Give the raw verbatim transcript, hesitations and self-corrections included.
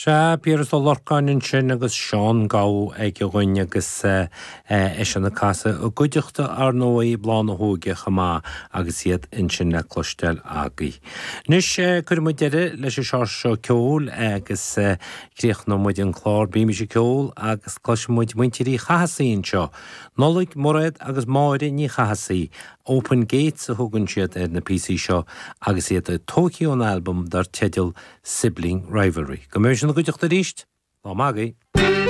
Sea, Piaras Ó Lorcáin ansin agus Seán Gabha ag an gcruinn agus eisean ag casadh i gcuideachta ar ndóigh Bláth na hÓige chomh maith agus iad ansin le cloisteáil agaibh. Anois cuirfidh muid deireadh leis an seo seo ceoil agus críochnóidh muid an clár Bímis ag Ceol agus cloisfidh muid muintir Uí Chathasaigh anseo. Nollaig, Mairéad agus Máire Ní Chathasaigh, Open Gates a thugann siad ar na píosaí seo agus iad tógtha ón albam dar teideal Sibling Rivalry. Go mbeidh sin na gcuideachta arís, lá maith agaibh.